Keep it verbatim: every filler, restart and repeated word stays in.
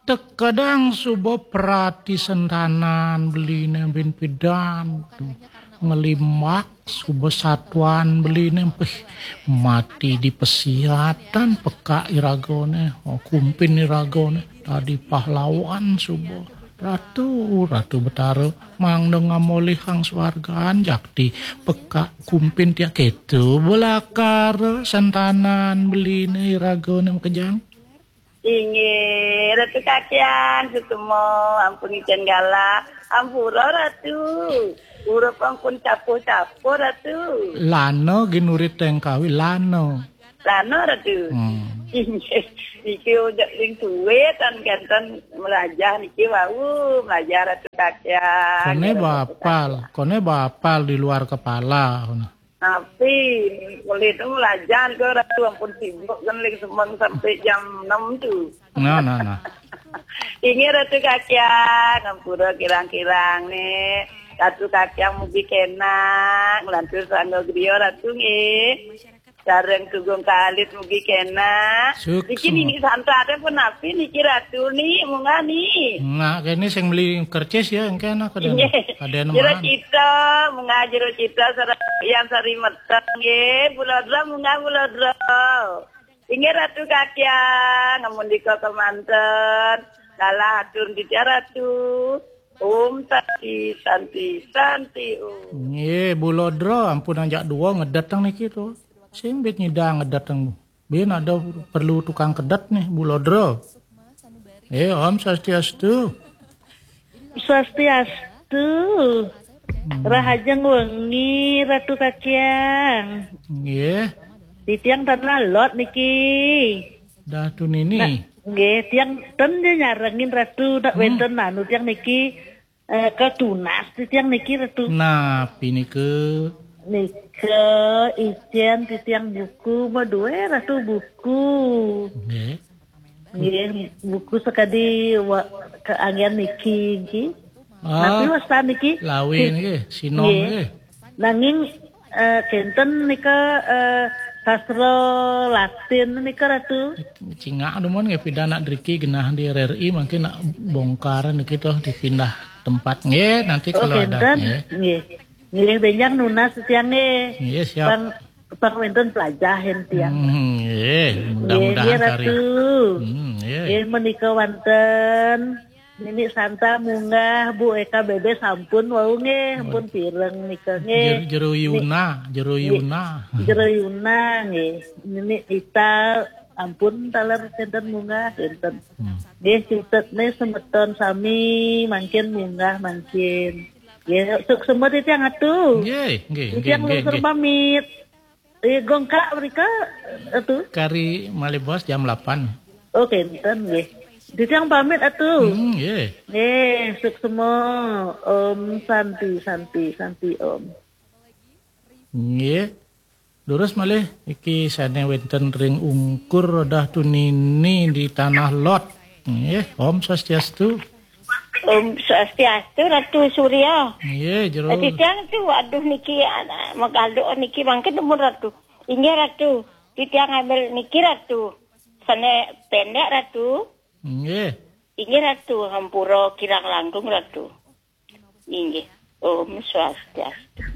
Teka dang suba prati sentanan beline bin pidan. Ngelimbak suba satuan beline, pih, mati di pesiatan peka iragane, oh, kumpin iragane, tadi pahlawan suba. Ratu, Ratu Betara, mangda ngamolihang swargan jakti peka kumpin tiang, keto belakara sentanan beline iragane makejang. Inggih, Ratu Kakian, suksma, ampun ngicen galah. Ampura, Ratu. Urup ampun capuh-capuh, Ratu. Lana ginurit tengkawi, lana. Lana, Ratu. Hmm. Inggih, niki ujak ring tuwe tan kenten melajah niki wau, melajah Ratu Kakian. Kone bapal, kone bapal di luar kepala. Napi, mulih tu melajah ke Ratu, ampun sibuk kan ring semeng sampai jam enam tu. Nah, nah, nah. Inggih Ratu Kakiang, ngampura kirang-kirang nih. Ratu Kakiang mugi kenak, nglantur sangga griya Ratu nggih. Sareng Tugung Kalit mugi kenak. Suksma. Niki Nini Santa te pun napi niki Ratu ni, munggah ni. Nah, kene sing beli kercis ya, engke enak ada. Inggih. Ada Jero nemaan. Cita, munggah Jero Cita sareng Yang Sari Meteng nggih. Bulodro munggah Bulodro. Inggih Ratu Kakiang, ngamundika kemanten. Galah atur titiang Ratu. Om Santi, Santi, Santi Om. Nggih, Bulodro, ampun anjak dua ngedet teng niki to. Sing bit nyidang ngedet teng. Bin ada perlu tukang kedet nih, Bulodro. Eh, Om Swastiastu. Swastiastu. Hmm. Rahajeng wengi, Ratu Kakiang. Nggih. Titiang tan lalot niki. Dah tu nini. Nah, nggih, tiang ten dia nyarengin Ratu, nak Hmm. wenten anu tiang niki, eh, ketunas titiang niki, Ratu. Nah, pinika. Nika, icen titiang buku, madue Ratu buku. Nggih. Nggih, buku sakadi wa-, keanggen niki, nggih. Ah, napi wastan niki? Lawi nggih, sinom nggih. Nanging, eh, kenten nika, eh, sastra Latin nika, Ratu. Cingak dumun nggih, pidan nak driki genah di R R I, mungkin nak bongkar niki toh, dipindah tempat. Nggih, nanti Oh, kalau ada, kenten. Nggih. Nggih. Nggih, benjang nunas titiang nggih. Nggih, siap. Pang, pang wenten pelajahin tiang. Hmm, nggih, nggih, mudah-mudahan nggih, kari. Ratu. Hmm, nggih. Nggih, menika wonten Nini Santa munggah, Bu Eka Bebe sampun wau nggih, ampun pireng nika nggih. Jer-, Jero Ni-, Yuna, Jero nggih. Yuna. Jero Yuna nggih. Nini Ita ampun taler kenten munggah kenten. Hmm. Nggih, cutet nih semeton sami mangkin munggah mangkin. Nggih, suksma titiang Ratu. Nggih, nggih, nggih, nggih, nggih. Titiang lungsur pamit. Eh, gongkak mrika, Ratu? Kari malih bos jam delapan. Oh, kenten nggih. Titiang pamit, Ratu. Hmm, nggih. Nggih, suksma. Om Santi, Santi, Santi, Om. Nggih. Durus malih iki sane wenten ring ungkur Ratu Nini di Tanah Lot. Nggih, Om Swastiastu. Om Swastiastu, Ratu Surya. Nggih, jero. Eh, titiang tu, aduh niki, anak, magaluk niki mangkin dumun Ratu. Inggih Ratu, titiang ngambil niki Ratu. Sane pendek Ratu. Nggih. Inggih Ratu, hampura kirang langkung Ratu. Inggih. Om Swastiastu.